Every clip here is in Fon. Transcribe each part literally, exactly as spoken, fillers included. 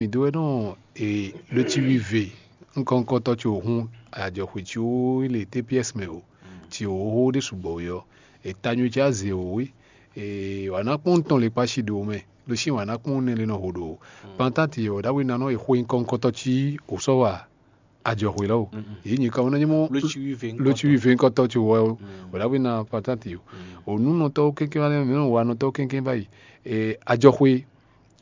Mǐ dó wɛ nɔ e ɖó cí wíve nukɔn nukɔntɔ́ ce wǒ hún ajɔxwě cí wó le T P S mɛ o, cí wǒ xó ɖé sugbɔ we ɔ́, è ta nyo cí azě wǒ é, è wǎ ná kpɔ́n tɔn le kpási ɖo mɛ, ɖo sí wǎ ná kpɔ́n nɛ le nɔ ho ɖo pantáti ɔ́ ɖawe ná nɔ e xó nyí kɔ́nkɔ́ntɔ́ cí wǒ sɔ́ wa ajɔxwě lɔ o. Yě nyi kan wó ná nyí mɔ Ló cí wíve ló cí wíve nukɔntɔ́ ce wǒ wǒ ɖawe ná pantáti o. Ò nǔnɔtɔ́ kɛ́kɛ́ wá lɛ́ mɛ wa nɔtɔ́ kɛ́kɛ́ báyìí. Ajɔxwě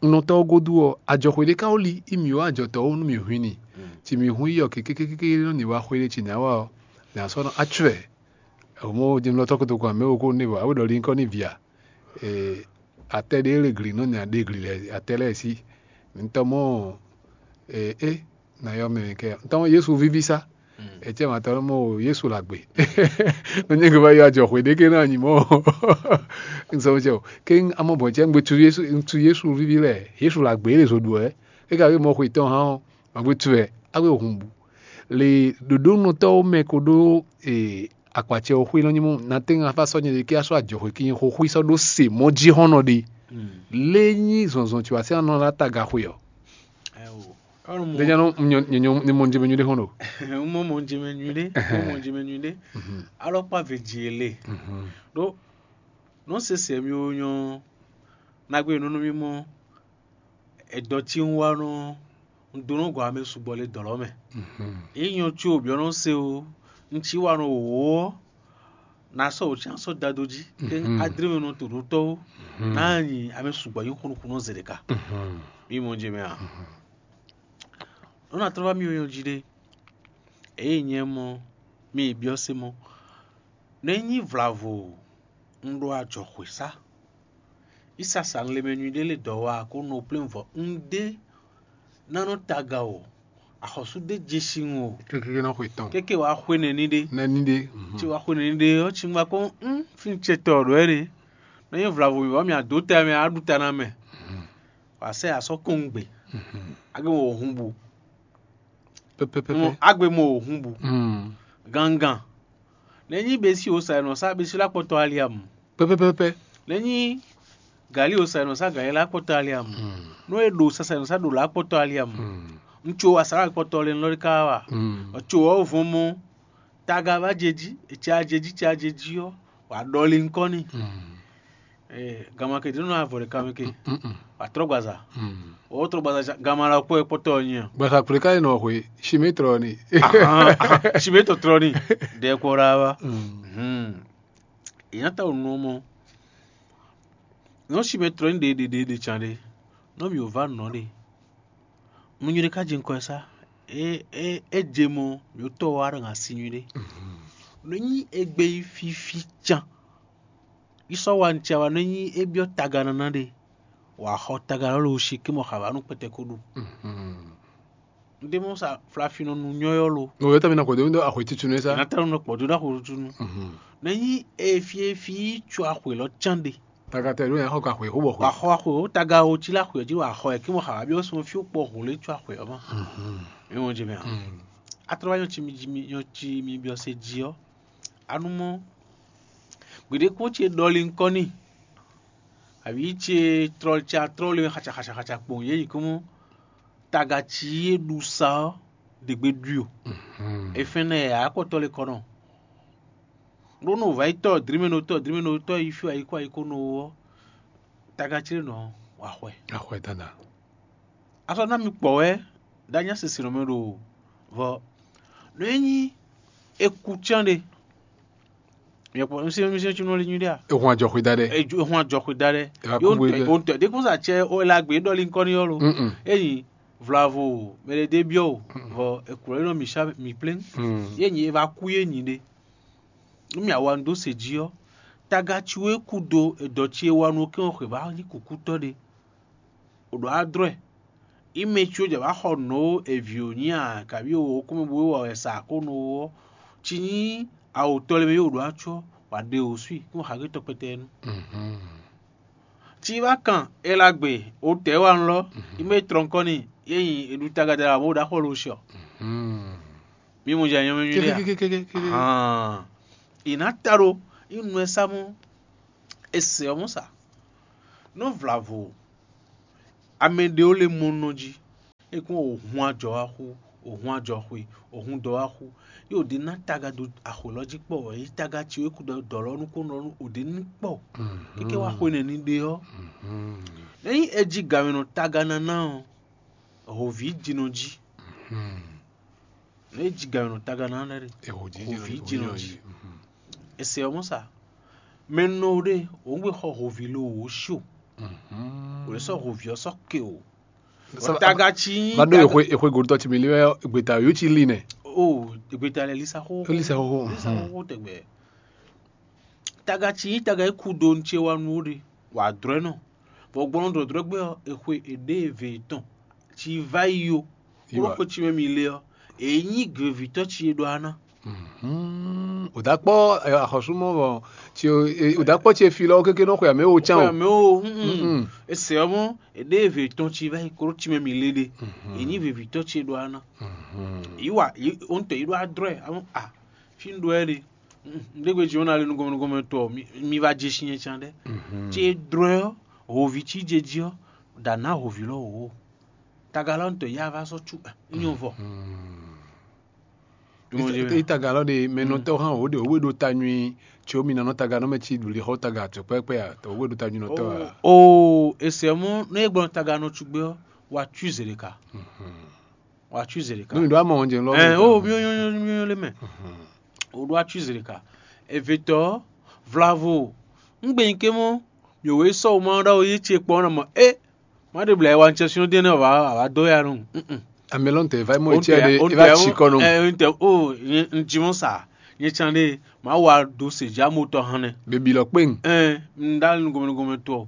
nɔtɔ́ ɔ́ gúdo ɔ́, ajɔxwě ɖé ka wó li í mǐ wá ajɔtɔ́ wú nú mǐ hun i ni. Ci mǐ hun i ɔ́, kékékéké nɔ ni wá xwé ɖé ci nǎ wa ɔ́, nǎ sɔ́ nɔ acwɛ. Mɔ jɛmlɔtɔ́ kotokun amɛ wo kó nébɔ awe ɖɔ linkɔ ní via. Atɛ ɖé le gli nɔ nya ɖe gli lɛ atɛ lɛ́ɛ sí. Ntɔ́ mɔ é na yɔ mɛ kɛ ntɔ́ mɔ Yesu víví sá. Etsɛ ma tɔn mɔ Yesu la gbe. Nɔ nyɛ gbe va yɔ ajɔ xwe ɖé ké na nyi mɔ. Nsɔmɔ cɛ o. Ké amɔ bɔn cɛ ngbe tu Yesu tu Yesu víví lɛ Yesu la gbe lè zo ɖu ɛ. É ka wé mɔ xwe tɔn hã ɔ́, ma gbe tu ɛ, a wé hun bu. Le ɖoɖónɔtɔwo mɛ ko ɖó akpacɛ ɔ́ xwé nɔ nyi mɔ na tɛ́ ŋa fá sɔ́ nyɛ ɖe ké asɔ ajɔ xwe kí nyɛ xo xwé sɔ́ ɖó se mɔ jí hɔn nɔ ɖe. Lé nyí zɔnzɔn tí wá sɛ nɔ la taga xwe ɔ. Ɖe nya nɔ nyɔ nyɔ nyɔ mɔ jɛmɛ nyuɖe hɔn ɖo. Un mɔ mɔ jɛmɛ nyuɖe, un mɔ jɛmɛ nyuɖe. Alɔkpa ve dzi ele. Ɖó nɔ sese mi wo nyɔ nagbe nunu mi mɔ edɔ tí un wa nɔ un dó nɔ gɔ ame sugbɔ le dɔ̌ lɔ mɛ. Yě nyɔ có byɔ́ nɔ se o, un cí wa nɔ wǒ ɔ́, na sɔ́ wǒ cí asɔ́ dado jí, ké adré mɛ nɔ to ɖó tɔ́ ó, ná nyi ame sugbɔ nyí xunukúnɔ zɛ ɖeka. Mi mɔ jɛ mɛ a? Nɔ na tlɔ́ wá mi nyɔ jí ɖé. Eye nyɛ mɔ mi byɔ́ se mɔ, nɔ e nyí vlavo un ɖo ajɔxwě sá. Ísasa un le mɛ nyuɖé lě dɔ̌ wá kó nɔ plé vɔ un ɖé ná nɔ taga o, axɔ́sú ɖé je sin o. Kéké nɔ xwe tɔn. Kéké wàá xwe nɛní ɖé. Nɛní ɖé. Ci wàá xwe nɛní ɖé ɔ́, ci ŋgba kó un fín ce tɔ ɖɔ ɛ ɖe. Nɔ nyí vlavo mǐ vɔ mì adó tɛ mɛ á ɖu ta ná mɛ. Wàá sɛ asɔ kɔn gbe. Agbe mɔ hun bu. Pɛpɛpɛpɛ. Agbe mɔ hun bu. Gangan. Nɛní besi o sa nɔ sa besi la kpɔtɔ aliamu. Pɛpɛpɛpɛ. Nɛní gali o sa nɔ sa gali la kpɔtɔ aliamu. Nɔ e ɖo sasa nɔ sa ɖo la kpɔtɔ aliamu. Ŋutsu wa sa la kpɔtɔ le nɔ ka wa. Ɔtso wɔ vɔn mɔ taga va jeji, etsa jeji, tsa jeji ɔ, wa ɖɔli ŋkɔ ni. Gama ke ɖi nɔ avɔ ɖeka mɛ ke. Wa trɔ gbaza. O trɔ gbaza gama la kpɔ kpɔtɔ nyi. Gbaza kple ka yi nɔ hwe, sime trɔ ni. Sime tɔ trɔ ni. Ɖe kpɔ ɖa wa. Ìyá ta ò nɔ mɔ. Nɔ sime trɔ ni ɖe ɖe ɖe ɖe tsa ɖe. Nɔ mi ò va nɔ ɖe. Nú nyuɖé ka jɛ ŋkɔ ɛ sá. É é é je mɔ yǒtɔ wa ɖo asi nyuɖé. Nú nyi égbé yi fífí can. Yi sɔ́ wa nú cia wa nú nyi é byɔ́ taga nana ɖe. Wǎ xɔ taga lɔ lo si kí mɔ xavǎ nú kpɛtɛ kó ɖu. Ndé mɔ sa flafinɔ nu nyɔ́yɔ́ lo. Ŋo yɔtɔ mi na xɔ dó axwe titun nɛ sá. Nata nɔ kpɔ dó ɖa xo tunu. Nɛ nyi efi efi tso axwe lɔ can ɖe. Tagatɛ ɖo yɛ xɔ ka xwe xó bɔ xwe. Wa xɔ axwe o taga o tsi la xwe jí wa xɔ ɛ kí mɔ xavǎ byɔ́ sɔn fí kpɔ hun lé tso axwe ɔ́ ma. Mi mɔ jɛ mɛ a? Atrɔ wa nyɔ tsi mi jí mi nyɔ tsi mi byɔ́ se jí ɔ́. Anu mɔ gbeɖé kpɔ́n ce ɖɔli ŋkɔ n'i. Àbí ce trɔ ce atrɔ le xatsa xatsa xatsa kpɔn yě yi kɔmɔ taga ci yé ɖu sa ɔ́ ɖe gbe ɖui o. Efɛn nɛ akpɔtɔ le kɔnɔ. Ɖó nɔ va yi tɔ drimɛnotɔ drimɛnotɔ yi fí ayi kó ayi kó nɔ ɔ́, taga ci le nɔ wa xwɛ. Axɔɛ dada. Asɔ ná mi kpɔ wɛ ɖo anya sese nɔ mɛ ɖo vɔ nɔ e nyí eku cán ɖe. Yɛkpɔ nsɛn nsɛn tsi nɔ li nyuɖe a? Ehun ajɔxwe da ɖe. Ehun ajɔxwe da ɖe. Eva kú gbe ɖe. Ontɔ ɖe kún sa tsɛ o la gbe ɖɔli ŋkɔ ni yɔ lo. Eyi vlavo mɛ ɖe ɖe biɔ o vɔ ekulɔ yi nɔ mi sa mi plɛn. Ye nyi eva kú ye nyi ɖe. Nú mi awa nu dó se jí ɔ́, taga ci wɛ kú do edɔ ci e wa nu kɛn xwe va nyí kukútɔ ɖe. O ɖo adrɔɛ. Ime tso jɛ va xɔ nǔ e vǐ ò nyi a kabi o kúmɛ bó wa wɛ sa ko nú ɔ́, ci nyí awǒtɔ́ lɛ́ɛ mɛ yóò ɖó acɔ́ wǎ ɖe wǒ swi kún xa gé tɔkpɛtɛ nu. Ci va kan elagbe o tɛ wa nlɔ ime trɔnkɔni ye nyi eɖu tagada abo ɖaxɔ lo siɔ. Mi mo jɛ nyɔmɛ nyuɖe a? Hàn. Ìná ta ɖo inú ɛ sámú ese ɔ́ mɔ sa. Nú vlavo amɛ ɖewo le mɔ nɔ jí. É kún o hun ajɔ wá xú, o hun ajɔ xwe, o hun dɔ wá xú. Yě o ɖe ná taga dó axwě lɔ jí kpɔ, wɛ yí taga ci wé kú dɔ dɔ lɔ nú kó nɔ nú o ɖe ní kpɔ. Kéké wá xwe nɛ ní ɖe ɔ́, ényí é jí gamɛ nɔ taga ná ná ɔ́, hǒví jí nɔ jí. Nǔ e jí gǎn nɔ taga ná lɛ́ɛ ɖe. Hǒví jí nɔ jí. Ese ɔ́ mɔ sa. Mɛ nɔ ɖe òun gbé xɔ hǒví lo wò sho. Wò lè sɔ́ hǒví ɔ́ sɔ́ ke o. Taga ci nyí va ɖo taga- exwe exwe godotɔ ci mi li wɛ gbeta yó ci li nɛ. O gbeta lɛ lisa xó. Lisa xó. Lisa xó tɛgbɛ. Taga ci nyí taga e kú do nce wa nu ɖe. Wà drɔ́ nɔ. Vɔ gbɔn dɔdrɔ́ gbé ɔ́, exwe èɖé eve tɔn ci va yi yo. Kúrò xwe ci mɛ mi le ɔ́, èyí nyí gběvítɔ́ ci e ɖɔ aná. Ò dá kpɔ́ axɔ́súmɔ vɔ, ò dá kpɔ́ ce fi lɔ kéké nɔ xwe amɛ wo cán o. Mɛ o. Ese ɔ́ mɔ èɖé eve tɔn ci va yi kúrò ci mɛ mi le ɖe. Èyí nyí gběvítɔ́ ci e ɖɔ aná. Yí wa yí o ŋutɔ yí ɖɔ adrɔ́ ɛ amɔ a fi ń ɖɔ ɛ ɖe. Ndé gbe jí wọn ná lé nú gɔmɛnugɔmɛ tɔ mi va jɛ sin yẹn can ɖɛ. Tí é drɔ́ ɛ ɔ́, hǒví cí jɛ jí ɔ́, ɖa ná hǒví lɔ wǒ. Tagalɔ ŋutɔ yá va sɔ́ cú nyɔ vɔ. Itagalɔ ɖe mɛ nɔtɔ hã wǒ ɖe wǒ ɖo ta nyui tso mi nɔ taganɔ mɛ ci ɖu li xɔ taga tso kpɛkpɛ a tɔ wǒ ɖo ta nyui nɔtɔ a. O ese mɔ ne gbɔn taganɔ tugbe ɔ́, wa tui zele ka. Wa tui zele ka. Nú mi ɖo amɔ ɔn jɛ lɔ. Ɛ o mi nyɔ nyɔ nyɔ le mɛ. O ɖo atui zele ka. Evetɔ vlavo ŋgbɛnyi ke mɔ mi wò e sɔ o ma ɖɔ o yi ce kpɔ na mɔ e ma ɖe bla wa ŋtsɛ sinɔ dɛn ne wa wa dɔ ya nɔ. Amɛlɔn tɛ va mɔ etsi ɖe e va tsi kɔ nɔ. Ɛ n tɛ o n ji mɔ sa nye can ɖe ma wa do se ja mo tɔ hɛnɛ. Bebi lɔ kpe. Ɛ n da nu gɔmɛ gɔmɛ tɔ.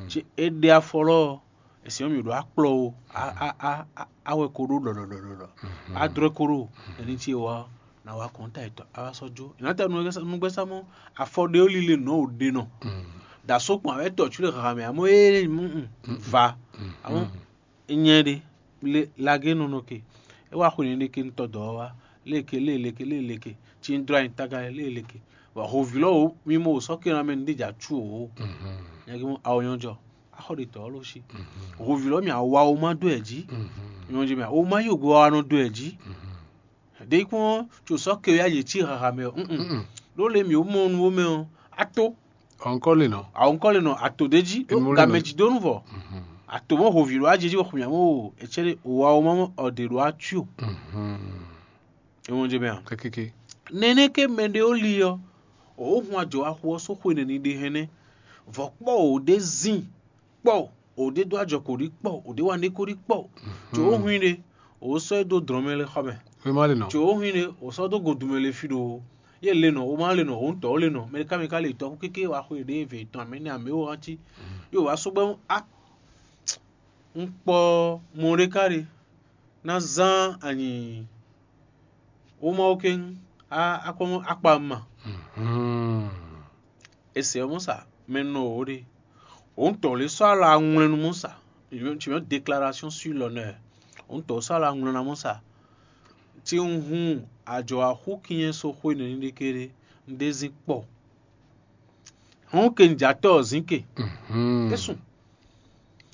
Ci e ɖe afɔ lɔ esi mi ɖo akplɔ o awɛ ko ɖo ɖɔɖɔɖɔɖɔ adrɔ ko ɖo ɛni ti wa na wa kɔn ta etɔ awa sɔ jo ina ta nugbɛsa mɔ afɔ ɖe o lile nɔ o ɖe nɔ da so kpɔn awɛ tɔ tsu le xaxa mɛ amɔ ee va amɔ nyɛ ɖe le lage nɔnɔ ke e wa xɔ ne ɖe ke ŋutɔ dɔ wa leke le leke le leke ti n dro anyi taga le leke wa hovi lɔ o mi mo sɔ ke na mɛ ne ɖe dza tsu o nyɛ ke mo awo nyɔ jɔ axɔ ɖe tɔ lɔ si. Hovi lɔ mi awa o ma do ɛ ji nyɔ ji mi o ma yi ogbe wa nɔ do ɛ ji ɖe kpɔn tso sɔ ke ya yě ci haha mɛ o ɖo le mi o mɔ nu wo mɛ o ato Ɔnkɔ le nɔ. Awɔ ŋkɔ le nɔ ato ɖe ji ɖo Emu le nɔ. Gamɛ ji do nu vɔ ato mɔ hovi ɖo ajeji wɔ xumia mɔ o etsɛ ɖe o wa o ma mɔ ɔɖe ɖo atui o. Emu je mɛ a. Kekeke. Nɛnɛ ke mɛ ɖe o li ɔ o hun ajɔ axu ɔ so xwe nɛni ɖe hɛnɛ vɔ kpɔ o ɖe zin kpɔ o ɖe do ajɔ ko ɖi kpɔ o ɖe wa ne ko ɖi kpɔ tso o hun ɖe o sɔ e do drɔn mɛ le xɔ mɛ. Wema le nɔ. Tso o hun ɖe o sɔ do godu mɛ le fi ɖo ye le nɔ o ma le nɔ o ŋutɔ o le nɔ mɛ ɖeka mɛ ka le tɔ kéke wa xwe ɖe ve tɔn amɛ ne amɛ o wa ti yo wa so gbɛ a n kpɔ mɔ ɖe ka ɖe na zan anyi o ma o ke a akpɔ akpa ma. Ese ɔ́ mɔ sa mɛ nɔ o ɖe o ŋutɔ le sɔ ala ŋwlɛ nu mɔ sa tu mɛ déclaration sur l'honneur o ŋutɔ sɔ ala ŋwlɛ na mɔ sa ti n hun ajɔ axú kinyɛ so xwe nɛni ɖe ke ɖe n ɖe zin kpɔ hɔn ke n jatɔ zin ke esun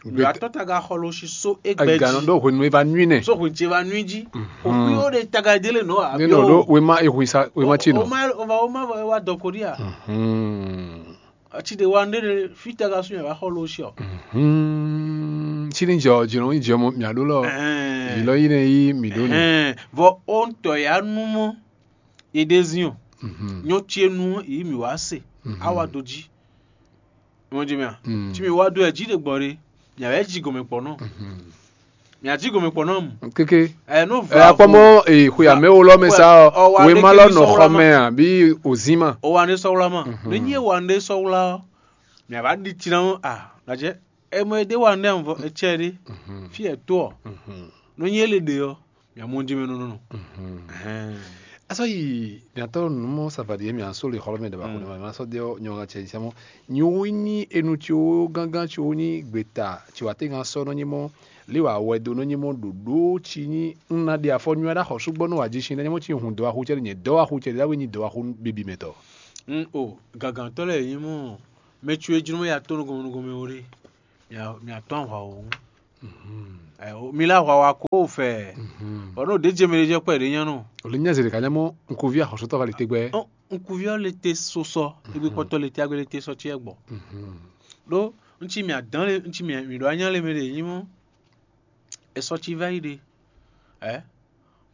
yɔ atɔ taga xɔ lo si so egbɛ Eganɔ ji ɖo hwenu e va nui nɛ. So hwenu ce va nui ji o kui o ɖe taga délé nɔ Ne nɔ ɖo abiɔ wema ehwi sa wema ci o nɔ. Ma o va o ma va wa dɔ ko ɖi a Hmm. Ati ɖe wa nɖe ɖe fi taga sun yɛ va xɔ lo si ɔ Hmm. Ci ni jɔ dzi nɔ yi jɔ mɔ mia ɖo lɔ. Ɛhɛn. Yi lɔ yi nɛ yi mi ɖo nɛ. Ɛhɛn. Vɔ o ŋutɔ ya nu mɔ ye ɖe zin o Mhm. Nyɔ ce nu yi mi wa se Mhm. Awa do ji Wọ́n jẹ́ mi à. Mm. Tí mi wá dó ẹ̀ jí lè gbọ́ re, mi à bẹ́ jí gòmè pọ̀ náà. Mhm. Mi à jí gòmè pọ̀ náà mu. Kéké. Ẹ̀ nú Ẹ vla akpɔmɔ ee xwe amɛ wo lɔ mɛ sa ɔ Ɔ, wa wema ɖe lɔ ke nɔ sɔwla xɔ ma. Mɛ a bí òzín ma. O wa ne sɔwla ma. Mhm. Ne nyi wa ne sɔwla ɔ, mi à bá ɖi tsi na ŋu a, gàjɛ. Ɛ mɔ e ɖe wa ne vɔ etsɛ ɖe. Mhm. Fi ɛ to ɔ. Mhm. Ne nyi e le ɖe ɔ, mi à mɔ jí mɛ nɔ nɔ. Mhm. Ɛhɛn. Asɔ yi miatɔ numɔ savadi yɛ mia so le xɔlɔ mɛ daba ko ne ma sɔ de nyɔ ŋa cɛ sɛmɔ nyi wo ni enu tso gangan tso ni gbeta tso ate ŋa sɔ nɔ nyimɔ li wa wɛ do nɔ nyimɔ ɖoɖo tsi ni un na ɖe afɔ nyuia ɖa xɔ sugbɔ nɔ wa ji sin nɔ nyimɔ tsi hun dɔ axu cɛ nye dɔ axu cɛ ɖe dawe nyi dɔ axu bibi mɛ tɔ. N o gagantɔ lɛ nyimɔ mɛ tso e jlɔ ya to nugɔmɔ nugɔmɔ wo ɖe mia mia tɔ ahwa wo ŋu. Ɛ, o, mi lá hwa wa kó o fɛ. Bɔ n'o ɖě jɛ mɛ ɖé jɛ kpɛ ɖě nyɔ́ nɔ. Ò lè nyí azě ɖeka nyá mɔ nkuví axɔsútɔ va lè te gbɛ. Ɔ, nkuví ɔ́ le te so sɔ, egbe kpɔtɔ le te agbe le te sɔ ce gbɔ. Ɖó ŋtsi mi adán le ŋtsi mi mi ɖo anya le mɛ ɖe nyí mɔ. Esɔ ci va yi ɖe. Ɛ,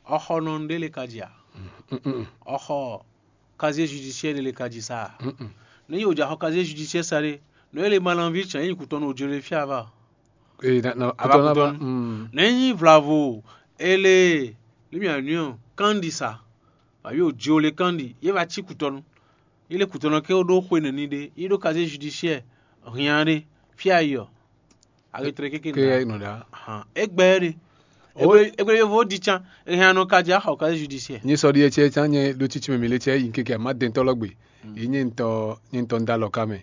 ɔxɔ nɔ ɖe le ka dzi a? Ɔxɔ casier judiciaire ɖe le ka dzi sa a? Ne yi o dza xɔ casier judiciaire sa ɖe, nɔ ele ma lanvi tsɛn yi kutɔnu o jlo le fia va. Ee, na na Ava kutɔ na kutɔnu. Mm. Ne nyi vlavo ele limi anyɔ kandi sa, ayi o jlo le kandi ye va ci kutɔnu. Ile kutɔnu ke o ɖo xwe nɛni ɖe, yi ɖo casier judiciaire hian ɖe fia yi ɔ. Agetre keke Ke nda. ya nɔ ɖa. Hàn, egbɛ ɖe. O- Egbe egbe yovo di can, ehan nɔ ka dza xɔ casier judiciaire. Nye sɔ ɖi etsɛ tsã nye ɖo tsitsi mɛ mi le tsɛ yi keke ama dɛntɔ lɔ gbe. Yi nye ŋutɔ nye ŋutɔ ŋda lɔ ka mɛ.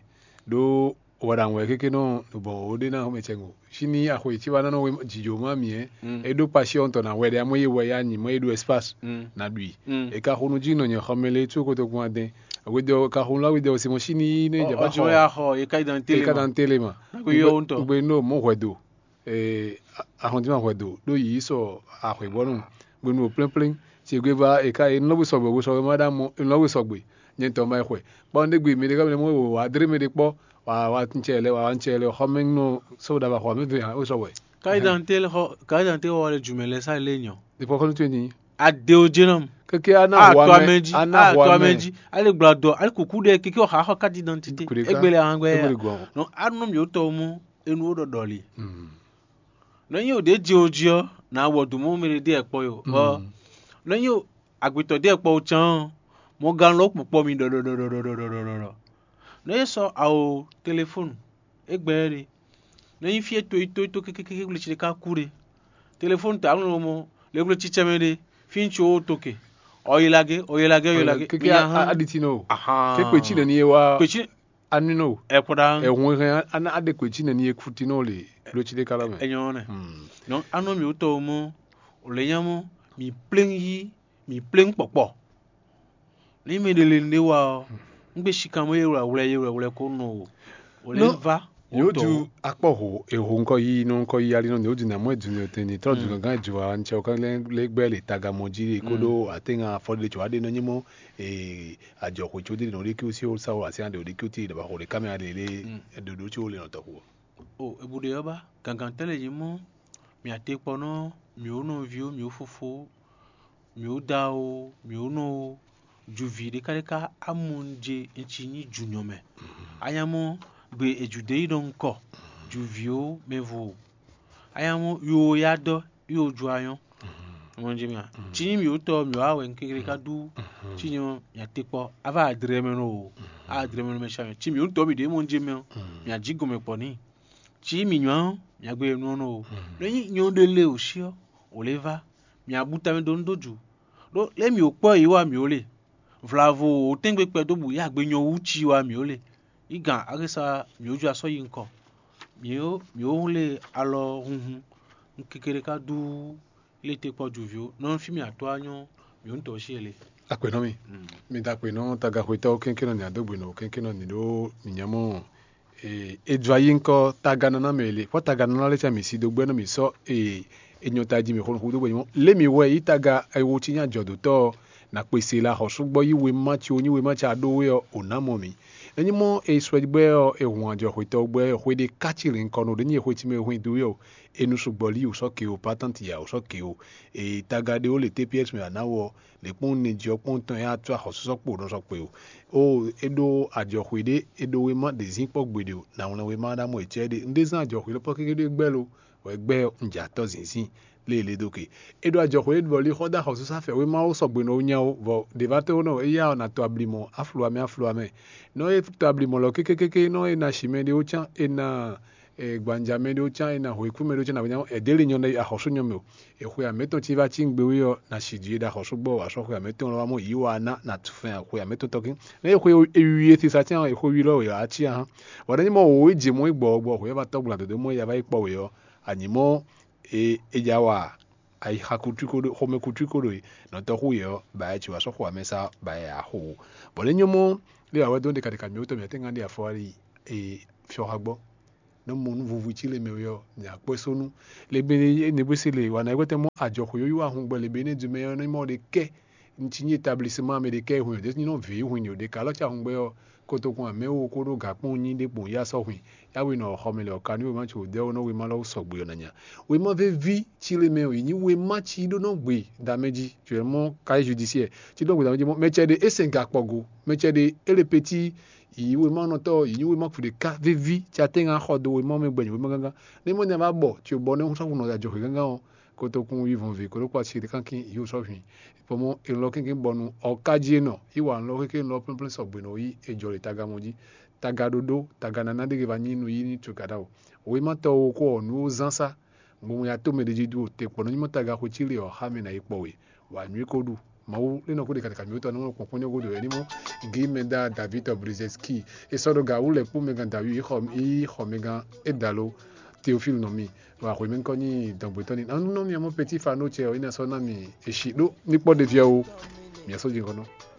Ɖo wɔ ɖa wɛ keke nɔ bɔ o ɖe na xɔmɛ tsɛ ŋo. Si ni axɔ yi tsi wa nɔ we dzidzo ma mi ɛ. Mm. E ɖo kpasi ɔntɔ na wɛ ɖe amɔ ye wɛ ya nyi mɔ ye ɖo espace. Mm. Na ɖui. Mm. E ka xonu dzi nɔ nyɛ xɔmɛ le tso kotoku adɛn. Wedɔ ka xonu la wedɔ se mɔ si ni ne dza ba Ɔjɔ ya xɔ ye ka identité E le ka ma. dan tele ma. Na ko yɔ wo ŋutɔ. Gbe no mo hwɛ do. Eh, ahɔnti ma hwɛ do. Ɖo yi sɔ ahwɛ bɔnu. Gbe no plɛnplɛn. Tsi gbe va e ka e nɔ bu sɔgbe bu sɔgbe ma ɖa mɔ e nɔ bu sɔgbe. Nyɛ tɔ ma xwɛ. Kpɔ ne gbe mi ɖe ka mi mɔ wa dre mi ɖe kpɔ. Wa wa ŋtsɛ lɛ wa ŋtsɛ lɛ xɔ mɛ nɔ sɔ da va xɔ mi ve ha o sɔ wɛ. Ka identité le xɔ ka identité xɔ le jumɛ le sa le nyɔ. Ɖe kpɔ kɔnu tso ni. Adeo jenom. Keke ana A hwa to mɛ. amedzi. Ana A to hwa mɛ. Amedzi. Ale gbla dɔ. Ale kuku ɖe keke ɔha xɔ carte d'identité. Kuɖe ka. Egbele ahangbe Egbele ya. gɔn. Non, anu mi o tɔ mu enu o ɖɔɖɔ li. Mm. Ne nyi o ɖe dzi o dzi ɔ, na wɔ do mɔ mi ɖe ɖe ɛkpɔ yo. Ɔ, ne nyi o agbetɔ ɖe ɛkpɔ o can ɔ, mɔ gan lɔ kpukpɔ mi ɖɔɖɔɖɔɖɔɖɔɖɔɖɔ. Ne yi sɔ awo telefonu, egbɛ ɖe. Ne nyi fie to yi to yi to kekekeke wle tsi ɖeka ku ɖe. Telefonu ta anu mɔ le wle tsi tsɛmɛ ɖe, fi ŋtsi o to ke. Ɔ yi lage, ɔ yi lage, ɔ yi lage. Keke Mi nya hã. Aditi no. Ahan. Ke kpe tsi nɛ ni ye wa. Kpe tsi Anu no. Ɛkpɔ ɖa. Ehun hɛn ana ade kpe tsi nɛ ni ye kuti no le. Lo tsi de kala mɛ. Enyɔ nɛ. Hmm. Donc anɔ mi wotɔ mɔ, o le nya mɔ, mi plɛn yi, mi plɛn kpɔkpɔ. Ni mi ɖe le ɖe wa ɔ, ŋgbe sikan mɔ ye wlɛ wlɛ ye wlɛ wlɛ ko nɔ o. O le Non. va. Yóò tu akpɔ ho eho ŋkɔ yi nɔ ŋkɔ yi ali nɔ ni o dina mɔ edu ni o tɛn ni tɔ du gangan ju wa ŋtsɛ o kan lɛ gbɛ le taga mɔ ji ko ɖo ate ŋa afɔ ɖe tso aɖe nɔ nyi mɔ ee adzɔxwe tso ɖe nɔ ɖe ki o si o sa o asi aɖe o ɖe ki o ti ɖe ba xo ɖe kame aɖe le ɖoɖo tso le nɔ tɔ xo. O ebu ɖe ɔba gangan tɛ le nyi mɔ, mi ate kpɔ nɔ, mi o nɔvi o mi o fofo, mi o da o mi o nɔ o, juvi ɖeka ɖeka amɔnje ŋtsi nyi junyɔ mɛ. Anya mɔ gbe eju de yi ɖɔ ŋkɔ, juvi o mɛvo o. Anya mɔ yo ya dɔ yo ju anyɔ. Mɔnje mia. Tsi nyi mi o tɔ mi o awɛ ŋkekere ka du. Tsi nyi mi ate kpɔ ava adre mɛ no o. Adre mɛ no mɛ sha mi. Tsi mi o tɔ mi ɖe mɔnje mɛ o. Mi aji gɔmɛ kpɔ ni. Tsi mi nyɔ mi agbe nu nɔ o. Ne nyi nyɔ ɖe le o si ɔ, o le va. Mi abu tamɛ do nu do ju. Ɖo lé mi o kpɔ yi wa mi o le. Vlavo o tɛngbe kpɛ do bu ya gbe nyɔ wu tsi wa mi o le. Yi gan agesa mi o ju asɔ yi ŋkɔ. Mi o mi o le alɔ hunhun. Ŋkekere ka du le te kpɔ ju vi o. Nɔ fi mi atɔ anyɔ mi o ŋutɔ si ele. Akpe nɔ mi. Mi da akpe nɔ tagaxwetɔwo kɛnkɛnɔ ni adogbe nɔ kɛnkɛnɔ ni ɖo mi nyamɔ. Ee, e dzɔ ayi ŋkɔ taganana mɛ le kpɔ taganana lɛ tsɛ mi si do gbɛ nɔ mi sɔ ee enyɔ ta ji mi xo nuxu do gbɛ nyɔ le mi wɛ yi taga ewo tsi nya jɔ do tɔ na kpese la xɔ sugbɔ yi we ma tsi o nyi we ma tsi aɖo we ɔ o na mɔ mi. Enyi mɔ e sɔ gbɛ ɔ e hun ajɔ xwetɔ gbɛ xwe ɖe katsi le ŋkɔ no ɖe nyi xwe tsi mɛ hun do yɔ enu sugbɔ li o sɔ ke o patanti ya o sɔ ke o e taga ɖe o le T P S mɛ ana wɔ le kpɔn ne jɔ kpɔn tɔn ya tu axɔsusɔ kpo nɔ sɔ kpe o. O e ɖo ajɔxwe ɖe e ɖo wema ɖe zin kpɔ gbeɖe o na wlɛn wema ɖa mɔ etsɛ ɖe un ɖe zan ajɔxwe lɔ pɔ kékeré gbɛ lo wɛ gbɛ un dza tɔ zinzin lé le do ke. E ɖo ajɔxwe ɖe bɔ li xɔ da xɔsusa fɛ wema wo sɔgbe nɔ nya o vɔ ɖe va to nɔ eya na to ablimɔ afluamɛ afluamɛ nɔ e to ablimɔ lɔ kékékéké nɔ e na shimɛ ɖe o can e na gbanja mɛ ɖe o can e na hweku mɛ ɖe o can na wenya ɛdɛ le nyɔ ɖe axɔsu nyɔ mɛ o. Exwe amɛtɔn ci va ci ŋgbe wi ɔ na shi ji ɖe axɔsu gbɔ wa sɔ xwe amɛtɔn lɔ wa mɔ yi wa na na tu fɛn xwe amɛtɔn tɔkin ne exwe ewi e sisa can exwe wi lɔ ya ci ahan. Wa ne mɔ wo ji mɔ gbɔ gbɔ xwe va tɔgbla dodo mɔ ya va yi kpɔ we ɔ anyi mɔ e e ja wa ayi xa kutu ko do xɔmɛ kutu ko do yi nɔtɔ xu ye ɔ ba ya ci wa sɔ xwe amɛsa ba ya xo. Bɔ ne nyɔ mɔ le awɛ do ɖeka ɖeka mi wotɔ mi ate ŋa ɖe afɔ ali e fiɔ xa gbɔ. nɔ mɔ nú vuvu cí le mɛ wɛ ɔ́, nya kpɔ́ só nú. Le be ne bó se le wà ná gbɛtɛ mɔ àjɔxo yóyó ahun gbɔ le be ne du mɛ ɔ́, ní mɔ ɖe kɛ ntsi nyi établissemant mɛ ɖe kɛ hun ɖe ní nɔ vě hun ɖe ka lɔ tsa hun gbɛ ɔ́, kotokun amɛ wo ko ɖo gǎkpɔn nyi ɖe kpɔn ya sɔ hun. Ya we nɔ xɔ mɛ le ɔka ní wema tso dɛ wo nɔ wema lɔ sɔgbe ɔ́ na nya. Wema vevi cí le mɛ ɔ́, yi nyi wema cí ɖó nɔ gbe da mɛ jí, tu mɔ kayi judiciaire cí ɖó gbe da mɛ jí mɔ mɛ cɛ ɖe é sɛn gakpɔ go, mɛ cɛ ɖe é le petit yi wema nɔtɔ yi nyi wema kuɖe ka vevi tsa tɛ ŋa xɔ do wema mɛ gbɛnyi wema gángan. Ne mɔ nya va bɔ tso bɔ ne sɔfu nɔ da jɔ xwe gángan ɔ́, kotokun yi vɔn ve kó ɖo kpa si ɖe kankin yi sɔ hwi. Pɔmɔ elɔ kénké bɔnu ɔkaji enɔ yi wa nlɔ kéké nlɔ plɛnplɛn sɔgbe nɔ yi ejɔ le taga mɔ jí. Taga ɖoɖo taga nana ɖe va nyi nu yi ni tso gada o. Wema tɔ wo kɔ nu zan sa gbɔn ya to mɛ ɖe jí do te kpɔ nɔ nyimɔ taga xo ci le ɔ xa mɛ na yi kpɔ we. Wa nyui ko ɖu. Mawu lé nɔ ko ɖe kàtàkà mi wotɔ nɔ kpɔn kpɔn nyɔgo do ɛni mɔ gi mɛ da david brizeski e sɔ ɖo ga wu lɛ kpó mɛ gan david yi xɔ yi xɔ mɛ gan e dalo. Théophile nɔ mi wa xɔ mi kɔ nyi dɔgbetɔ ni anu nɔ mi mɔ petit fano cɛ o ina sɔ na mi esi ɖo ní kpɔ ɖeviɛ o. Mi asɔ dzi nkɔ nɔ.